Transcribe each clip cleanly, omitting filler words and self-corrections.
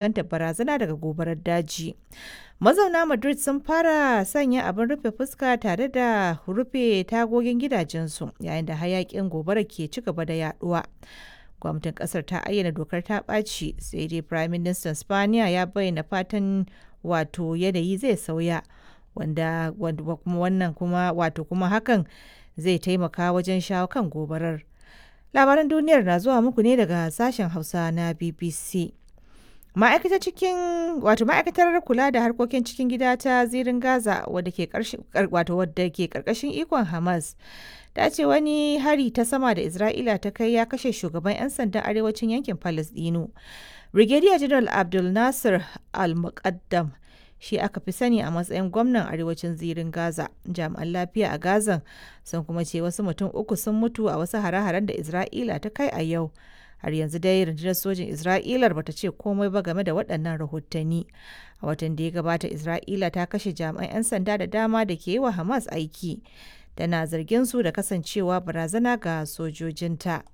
Fuskantar barazana daga gobarar daji. Mazauna Madrid sun fara sanya abin rufe fuska tare da rufe tagogin gidajensu yayin da hayakin gobarar ke ci gaba da yaduwa. Gwamnatin kasar ta ayyana dokar ta ɓaci sai dai Prime Minister Spaniya ya bayyana fatan wato yanayi zai sauya wanda kuma wannan kuma wato kuma hakan zai taimaka wajen shawo kan gobarar. Labaran duniyar na zuwa muku ne daga sashen Hausa na BBC. Ma'aikatar cikin wato ma'aikatar kula da harkokin cikin gida ta zirin Gaza wadda ke wato wadda ke karkashin ikon Hamas ta ce wani hari ta sama da Isra'ila ta kai ya kashe shugaban 'yan sandan arewacin yankin Palestino. Brigadier General Abdul Nasir Al-Muqaddam shi aka fi sani a matsayin gwamnan arewacin zirin Gaza. Jami'an lafiya a Gazan sun kuma ce wasu mutum uku sun mutu a wasu hare-haren da Isra'ila ta kai a yau. Har yanzu dai rundunar sojin Isra'ilar bata ce komai ba game da waɗannan rahotanni. A watan da ya gabata Isra'ila ta kashe jami'an 'yan sanda da dama da ke yi wa Hamas aiki. Tana zargin su da kasancewa barazana ga sojojinta.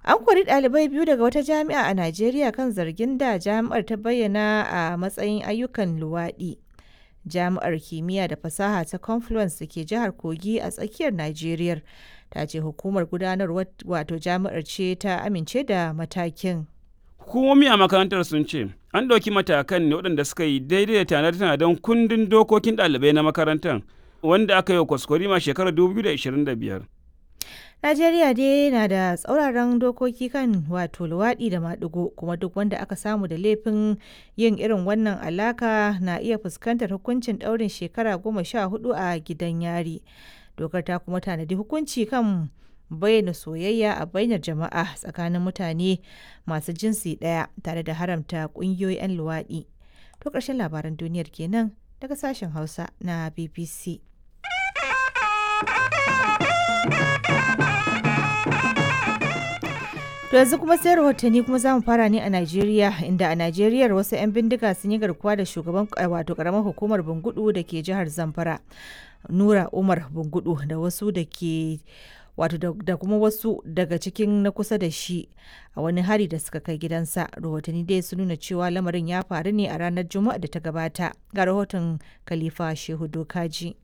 An kori ɗalibai biyu daga wata jami'a a Najeriya kan zargin da jami'ar ta bayyana a matsayin ayyukan luwaɗi. Jami'ar Kimiyya da Fasaha ta Confluence da ke jihar Kogi a tsakiyar Najeriya ta ce hukumar gudanarwar wato jami'ar ce ta amince da matakin. Hukumomi a makarantar sun ce an ɗauki matakan ne waɗanda suka yi daidai da tanade-tanaden kundin dokokin ɗalibai na makarantar wanda aka yi wa kwaskwarima shekarar 2025. Najeriya dai na da tsauraran dokoki kan wato luwaɗi da maɗigo kuma duk wanda aka samu da laifin yin irin wannan alaka na iya fuskantar hukuncin ɗaurin shekara 14 a gidan yari. Dokar ta kuma tanadi hukunci kan bayyana soyayya a bainar jama'a tsakanin mutane masu jinsi ɗaya tare da haramta ƙungiyoyin 'yan luwaɗi. To ƙarshen labaran duniyar kenan daga sashen Hausa na BBC. To yanzu kuma sai rahotanni kuma za mu fara ne a Najeriya inda a Najeriya wasu 'yan bindiga sun yi garkuwa da shugaban wato karamar hukumar Bungudu da ke jihar Zamfara. Nura Umar Bungudu da wasu da ke wato da kuma wasu daga cikin na kusa da shi a wani hari da suka kai gidansa. Rahotanni dai sun nuna cewa lamarin ya faru ne a ranar Juma'a da ta gabata. Ga rahoton Khalifa Shehu Dokaji.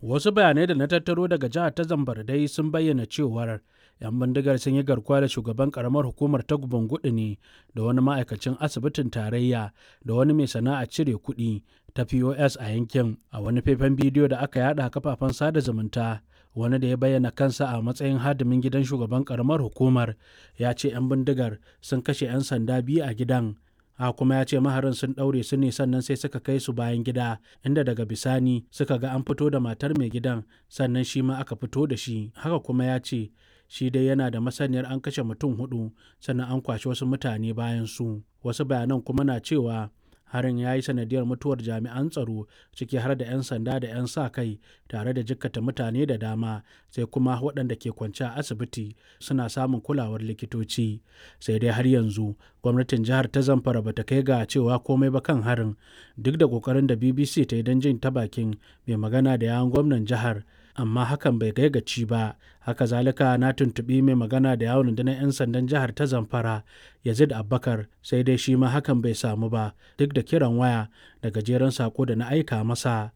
Wasu bayanai da na tattaro daga jihar ta Zamfara dai sun bayyana cewar 'yan bindigar sun yi garkuwa da shugaban karamar hukumar ta gudu ne da wani ma'aikacin asibitin tarayya da wani mai sana'a cire kuɗi ta pos a yankin. A wani faifan bidiyo da aka yada a kafafen sada zumunta, wani da ya bayyana kansa a matsayin hadimin gidan shugaban karamar hukumar ya ce 'yan bindigar sun kashe 'yan sanda biyu a gidan. A kuma ya ce maharin sun ɗaure su ne sannan sai suka kai su bayan gida, inda daga bisani suka ga an fito da matar mai gidan, sannan shi ma aka fito da shi. Haka kuma ya ce shi dai yana da masaniyar an kashe mutum hudu sannan an kwashi wasu mutane bayan su. Wasu bayanan kuma na cewa harin ya yi sanadiyar mutuwar jami'an tsaro, ciki har da 'yan sanda da 'yan sa kai, tare da jikkata mutane da dama, sai kuma waɗanda ke kwance a asibiti suna samun kulawar likitoci. Sai dai har yanzu gwamnatin jihar ta Zamfara bata kai ga cewa komai ba kan harin, duk da kokarin da BBC ta yi don jin ta bakin mai magana da yawun gwamnan jihar, amma hakan bai kai gaci ba. Haka zalika na tuntuɓi mai magana da yawon rundunar 'yan sandan jihar ta Zamfara, Yazid Abubakar, sai dai shi ma hakan bai samu ba duk da kiran waya da gajeren sako da na aika masa.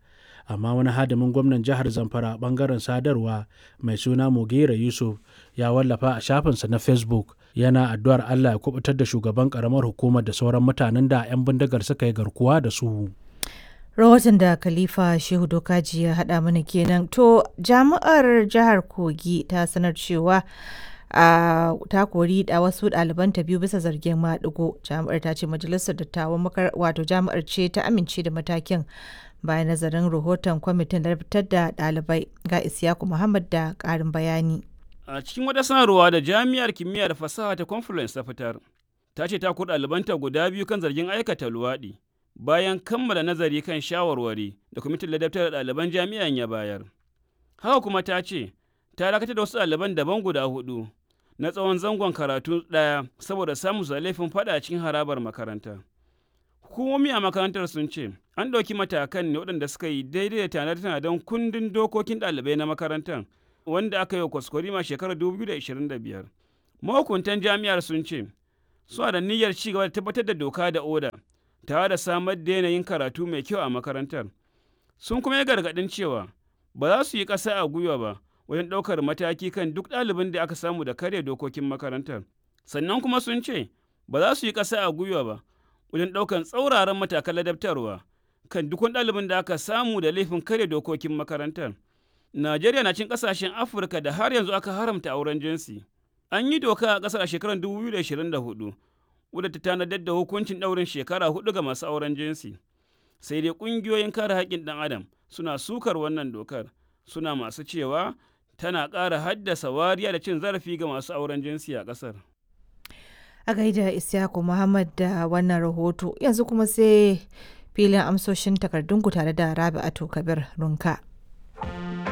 Amma wani hadimin gwamnan jihar Zamfara bangaren sadarwa mai suna Mugera Yusuf ya wallafa a shafinsa na Facebook yana addu'ar Allah ya kubutar da shugaban karamar hukumar da sauran mutanen da 'yan bindigar suka yi garkuwa da su. Rahoton da Khalifa Shehu Dokaji ya haɗa mana kenan. To jami'ar jihar Kogi ta sanar cewa ta kori da wasu ɗalibanta biyu bisa zargin maɗigo. Jami'ar ta ce majalisar dattawan wato jami'ar ce ta amince da matakin bayan nazarin rahoton kwamitin da fitar da ɗalibai. Ga Isiyaku Muhammad da ƙarin bayani. A cikin wata sanarwa da Jami'ar Kimiyya da Fasaha ta Confluence ta fitar, ta ce ta kori ɗalibanta guda biyu kan zargin aikata luwaɗi, bayan kammala nazari kan shawarwari da kwamitin ladabtar da ɗaliban jami'an ya bayar. Haka kuma ta ce, ta dakatar da wasu ɗaliban daban guda hudu na tsawon zangon karatu ɗaya saboda samun su da laifin faɗa cikin harabar makaranta. Hukumomi a makarantar sun ce, an ɗauki matakan ne waɗanda suka yi daidai da tanade-tanaden kundin dokokin ɗalibai na makarantar wanda aka yi wa kwaskwarima shekarar 2025. Mahukuntan jami'ar sun ce, suna da niyyar ci gaba da tabbatar da doka da oda tare da samar da yanayin karatu mai kyau a makarantar. Sun kuma yi gargaɗin cewa ba za su yi ƙasa a gwiwa ba wajen ɗaukar mataki kan duk ɗalibin da aka samu da karya dokokin makarantar. Sannan kuma sun ce ba za su yi ƙasa a gwiwa ba wajen ɗaukar tsauraran matakan ladabtarwa kan duk wani ɗalibin da aka samu da laifin karya dokokin makarantar. Najeriya na cin ƙasashen Afirka da har yanzu aka haramta auren jinsi. An yi doka a ƙasar a shekarar 2024 wadda ta tanadar da hukuncin ɗaurin shekara hudu ga masu auren jinsi. Sai dai ƙungiyoyin kare haƙƙin ɗan adam suna sukar wannan dokar, suna masu cewa tana ƙara haddasa wariya da cin zarafi ga masu auren jinsi a ƙasar. A gaida Isyaku Muhammad da wannan rahoto yanzu kuma sai filin amsoshin takardunku tare da Rabi'atu Kabir Runka.